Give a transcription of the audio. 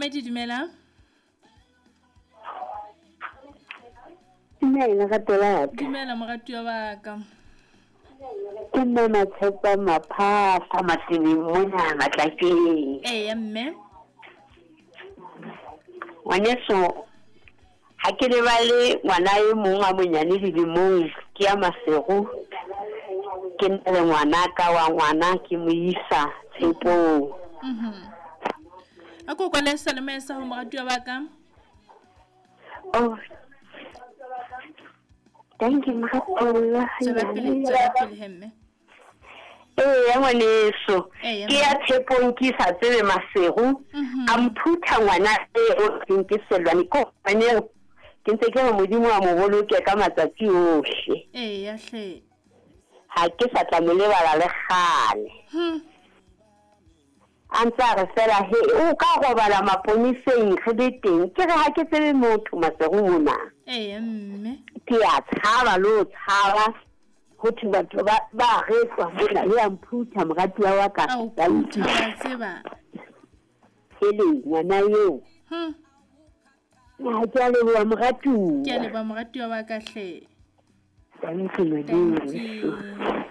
Momamedi dumela. Dumela rato la ka. Dumela moratuwa wa ka. Ke nna Matshepa Maphahla Matebeng mona Matlakeng. Eya mme. Ngwaneso ha ke lebale ngwana e mong a monyane dilemong ke ya Masego ke na le ngwana ka wa ngwana ke mo isa tshepong. Mhm. A ko kwale seyalemoya sa ho moratuwa wa ka. Oh. Thank you moratuwa. Tswela pele, tswela pele he mme. Eya ngwaneso Eya, ke ya tshepong ke sa tsebe Masego a mphutha ngwana eo reng ke Sellwane ko ngwaneo ke ntse ke re Modimo a mo boloke ka matsatsi ohle. Eya hle. Ha ke sa tla mo lebala le kgale. A ntse a re fela he o ka robala maponeseng re le teng ke re ha ke tsebe motho Masego mona. Eya mme. Ke a tshaba le ho tshaba ho thwe batho ba ba retlwa mona le a mphutha moratuwa wa ka. A o phutha wa tseba. Hele ngwana eo. Ha ke a leboha moratuwa. Ke a leboha moratuwa wa ka hle. Thank you Thank you.